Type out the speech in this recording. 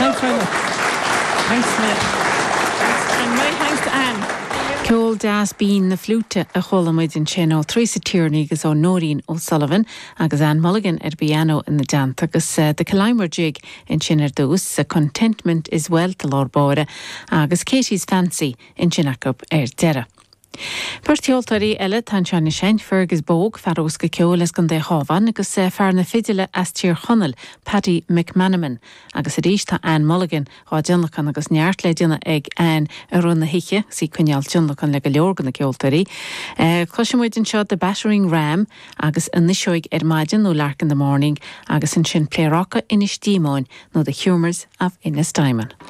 Thanks very much. Thanks very much. And my thanks to Anne. Ceol deas binn na fliúite a chuala muid ansin ó Theresa Tierney agus ó Nóirín O'Sullivan agus Anne Mulligan ar an bpianó ina dteannta agus The Killimer Jig ansin ar dtús, Contentment is Wealth i lár báire agus Katey's Fancy ansin acu ar deireadh. Beirt cheoltóirí eile atá anseo anois, Fergus Bogue, fear bosca ceoil as gContae an Chabháin agus fear na fidile as Tír Chonaill, Paddy McManamon. Agus arís tá Anne Mulligan dhá dtionlacan agus neart le déanamh ag Anne i rith na hoíche agus í ag coinneáil tionlacan le go leor de na ceoltóirí. Cloisfidh muid anseo The Battering Ram agus An Fhuiseog ar Maidin nó Lark in the Morning agus ansin Pléaráca Inis Díomóin nó The Humours of Ennistymon.